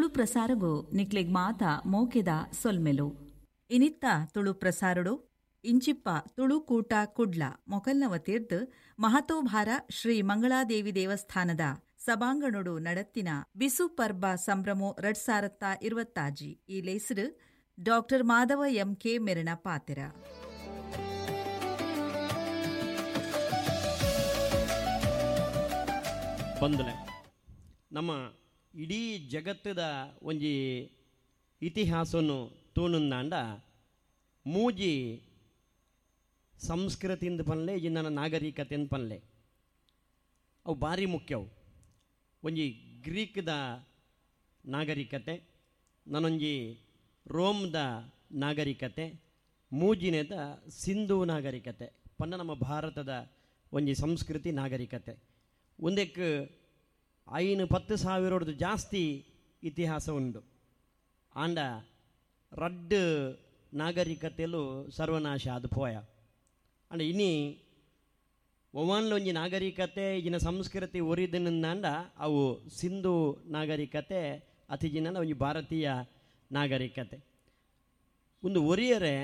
ತುಳು ಪ್ರಸಾರಗು ನಿಕ್ಲೆಗ್ ಮಾತ ಮೋಕೆದ ಸೊಲ್ಮೆಲು. ಇನಿತ್ತ ತುಳು ಪ್ರಸಾರೊಡು ಇಂಚಿಪ್ಪ ತುಳುಕೂಟ ಕುಡ್ಲ ಮೊಕಲ್ನ ವತಿರ್ದ್ ಮಹತೋಭಾರ ಶ್ರೀ ಮಂಗಳಾದೇವಿ ದೇವಸ್ಥಾನದ ಸಭಾಂಗಣೊಡು ನಡತ್ತಿನ ಬಿಸು ಪರ್ಬ ಸಂಭ್ರಮೊ ರಡ್ಡ್ ಸಾರತ್ತ ಇರ್ವತ್ತಾಜಿ ಈ ಲೇಸ್ಡ್ ಡಾಕ್ಟರ್ ಮಾಧವ ಎಂ ಕೆ ಮೆರೆನ ಪಾತೆರ. ಬಂದಲೆ ನಮ್ಮ ಇಡೀ ಜಗತ್ತದ ಒಂಜಿ ಇತಿಹಾಸವನ್ನು ತೂನುಂದಾಂಡ ಮೂಜಿ ಸಂಸ್ಕೃತಿಂದ ಪನ್ಲೆ ಜಿನ್ನ ನಾಗರಿಕತೆಂದು ಪನ್ಲೆ ಅವು ಭಾರಿ ಮುಖ್ಯವು. ಒಂಜಿ ಗ್ರೀಕ್ದ ನಾಗರಿಕತೆ, ನಾನೊಂಜಿ ರೋಮ್ದ ನಾಗರಿಕತೆ, ಮೂಜಿನೇದ ಸಿಂಧೂ ನಾಗರಿಕತೆ ಪನ್ನ ನಮ್ಮ ಭಾರತದ ಒಂಜಿ ಸಂಸ್ಕೃತಿ ನಾಗರಿಕತೆ. ಒಂದಕ್ಕೆ 5-10 ಸಾವಿರದ್ದು ಜಾಸ್ತಿ ಇತಿಹಾಸ ಉಂಡು. ಆಂಡ ರಡ್ಡು ನಾಗರಿಕತೆಲು ಸರ್ವನಾಶ ಅದು ಪೋಯ. ಅಂಡ ಇನಿ ಒವಾನ್ಲ ಒಂಜಿ ನಾಗರಿಕತೆ ಈಗಿನ ಸಂಸ್ಕೃತಿ ಒರಿದಿನಿಂದಾಂಡ ಅವು ಸಿಂಧೂ ನಾಗರಿಕತೆ ಅತಿಜಿನ ಒಂಜಿ ಭಾರತೀಯ ನಾಗರಿಕತೆ. ಒಂದು ಒರಿಯರೆ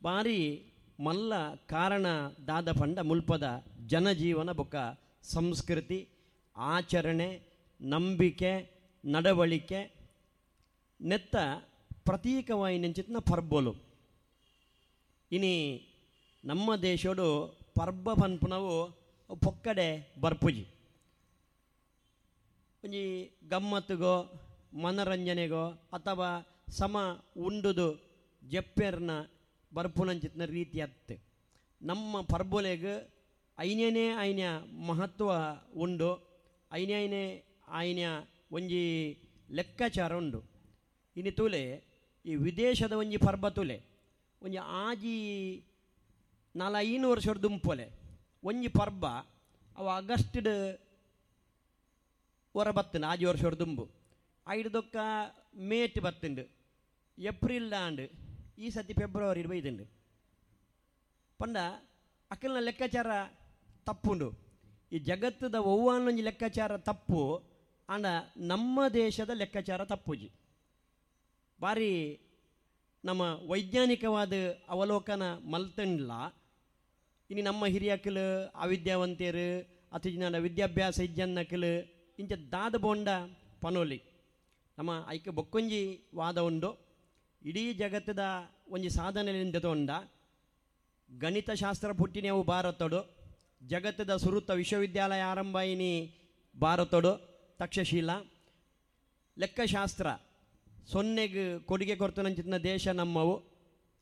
ಭಾರಿ ಮಲ್ಲ ಕಾರಣ ದಾದ ಪಂಡ ಮುಲ್ಪದ ಜನಜೀವನ ಬೊಕ್ಕ ಸಂಸ್ಕೃತಿ, ಆಚರಣೆ, ನಂಬಿಕೆ, ನಡವಳಿಕೆ ನೆತ್ತ ಪ್ರತೀಕವಾಗಿ ನೆಂಚಿತ್ನ ಪರ್ಬೊಲು. ಇನಿ ನಮ್ಮ ದೇಶೋಡು ಪರ್ಬ ಪನ್ಪುನವು ಪೊಕ್ಕಡೆ ಬರ್ಪುಜಿ. ಒಂಜಿ ಗಮ್ಮತ್ತಿಗೋ ಮನರಂಜನೆಗೋ ಅಥವಾ ಸಮ ಉಂಡುದು ಜಪ್ಪೆರ್ನ ಬರ್ಪುನಂಚಿತ್ನ ರೀತಿ ಅತ್ತೆ. ನಮ್ಮ ಪರ್ಬೊಲೆಗ್ ಐನೇನೇ ಐನ ಮಹತ್ವ ಉಂಡು, ಐನೇ ಐನ ಒಂಜಿ ಲೆಕ್ಕಾಚಾರ ಉಂಡು. ಇನಿ ತೂಲೆ ಈ ವಿದೇಶದ ಒಂಜಿ ಪರ್ಬ ತೂಲೆ ಒಂಜಿ ಆಜಿ 4-5 ವರ್ಷದ ದುಂಪೊಲೆ ಒಂಜಿ ಪರ್ಬ ಅವು ಆಗಸ್ಟ್ಡ್ ಹೊರ ಬತ್ತಂಡು, ಆಜಿ ವರ್ಷದ ದುಂಬು ಐಡ್ದೊಕ್ಕ ಮೇಟ್ ಬತ್ತಂಡು, ಏಪ್ರಿಲ್ ಆಂಡ್, ಈ ಸತಿ ಫೆಬ್ರವರಿ ಬೈದುಂಡು. ಪಂಡ ಅಕಲ್ನ ಲೆಕ್ಕಾಚಾರ ತಪ್ಪುಂಡು. ಈ ಜಗತ್ತದ ಒವ್ವಾನೊಂಜಿ ಲೆಕ್ಕಾಚಾರ ತಪ್ಪು, ಆಂಡ ನಮ್ಮ ದೇಶದ ಲೆಕ್ಕಾಚಾರ ತಪ್ಪುಜಿ. ಭಾರಿ ನಮ್ಮ ವೈಜ್ಞಾನಿಕವಾದ ಅವಲೋಕನ ಮಲ್ತಂಡ್ಲ. ಇನಿ ನಮ್ಮ ಹಿರಿಯಕಲು ಅವಿದ್ಯಾವಂತೆಯರು ಅತಿ ವಿದ್ಯಾಭ್ಯಾಸ ಇಜ್ಜನ್ನಕಲು ಇಂಚ ದಾದ ಬೋಂಡ ಪನೋಲಿ ನಮ್ಮ ಐಕೆ ಬೊಕ್ಕೊಂಜಿ ವಾದ ಉಂಡು. ಇಡೀ ಜಗತ್ತದ ಒಂಜಿ ಸಾಧನೆಯಿಂದ ತೊಂಡ ಗಣಿತಶಾಸ್ತ್ರ ಪುಟ್ಟಿನವು ಭಾರತಡು, ಜಗತ್ತದ ಸುರುತ್ತ ವಿಶ್ವವಿದ್ಯಾಲಯ ಆರಂಭ ಇನಿ ಭಾರತಡು, ತಕ್ಷಶೀಲ ಲೆಕ್ಕಶಾಸ್ತ್ರ ಸೊನ್ನೆಗೆ ಕೊಡುಗೆ ಕೊರ್ತನಂಚಿನ ದೇಶ ನಮ್ಮವು.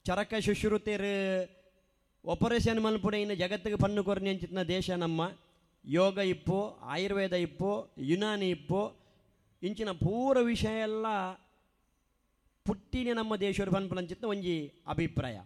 ಚರಕ ಶುಶ್ರುತೇರು ಆಪರೇಷನ್ ಮಲ್ಪುಡೆ ಇನ್ನು ಜಗತ್ತಿಗೆ ಪನ್ನು ಕೊರ್ನಿ ಅಂಚಿನ ದೇಶ ನಮ್ಮ. ಯೋಗ ಇಪ್ಪು, ಆಯುರ್ವೇದ ಇಪ್ಪು, ಯುನಾನಿ ಇಪ್ಪು, ಇಂಚಿನ ಪೂರ ವಿಷಯ ಎಲ್ಲ ಪುಟ್ಟಿನೇ ನಮ್ಮ ದೇಶದ ಪನ್ಪುನಂಚಿನ ಒಂಜಿ ಅಭಿಪ್ರಾಯ.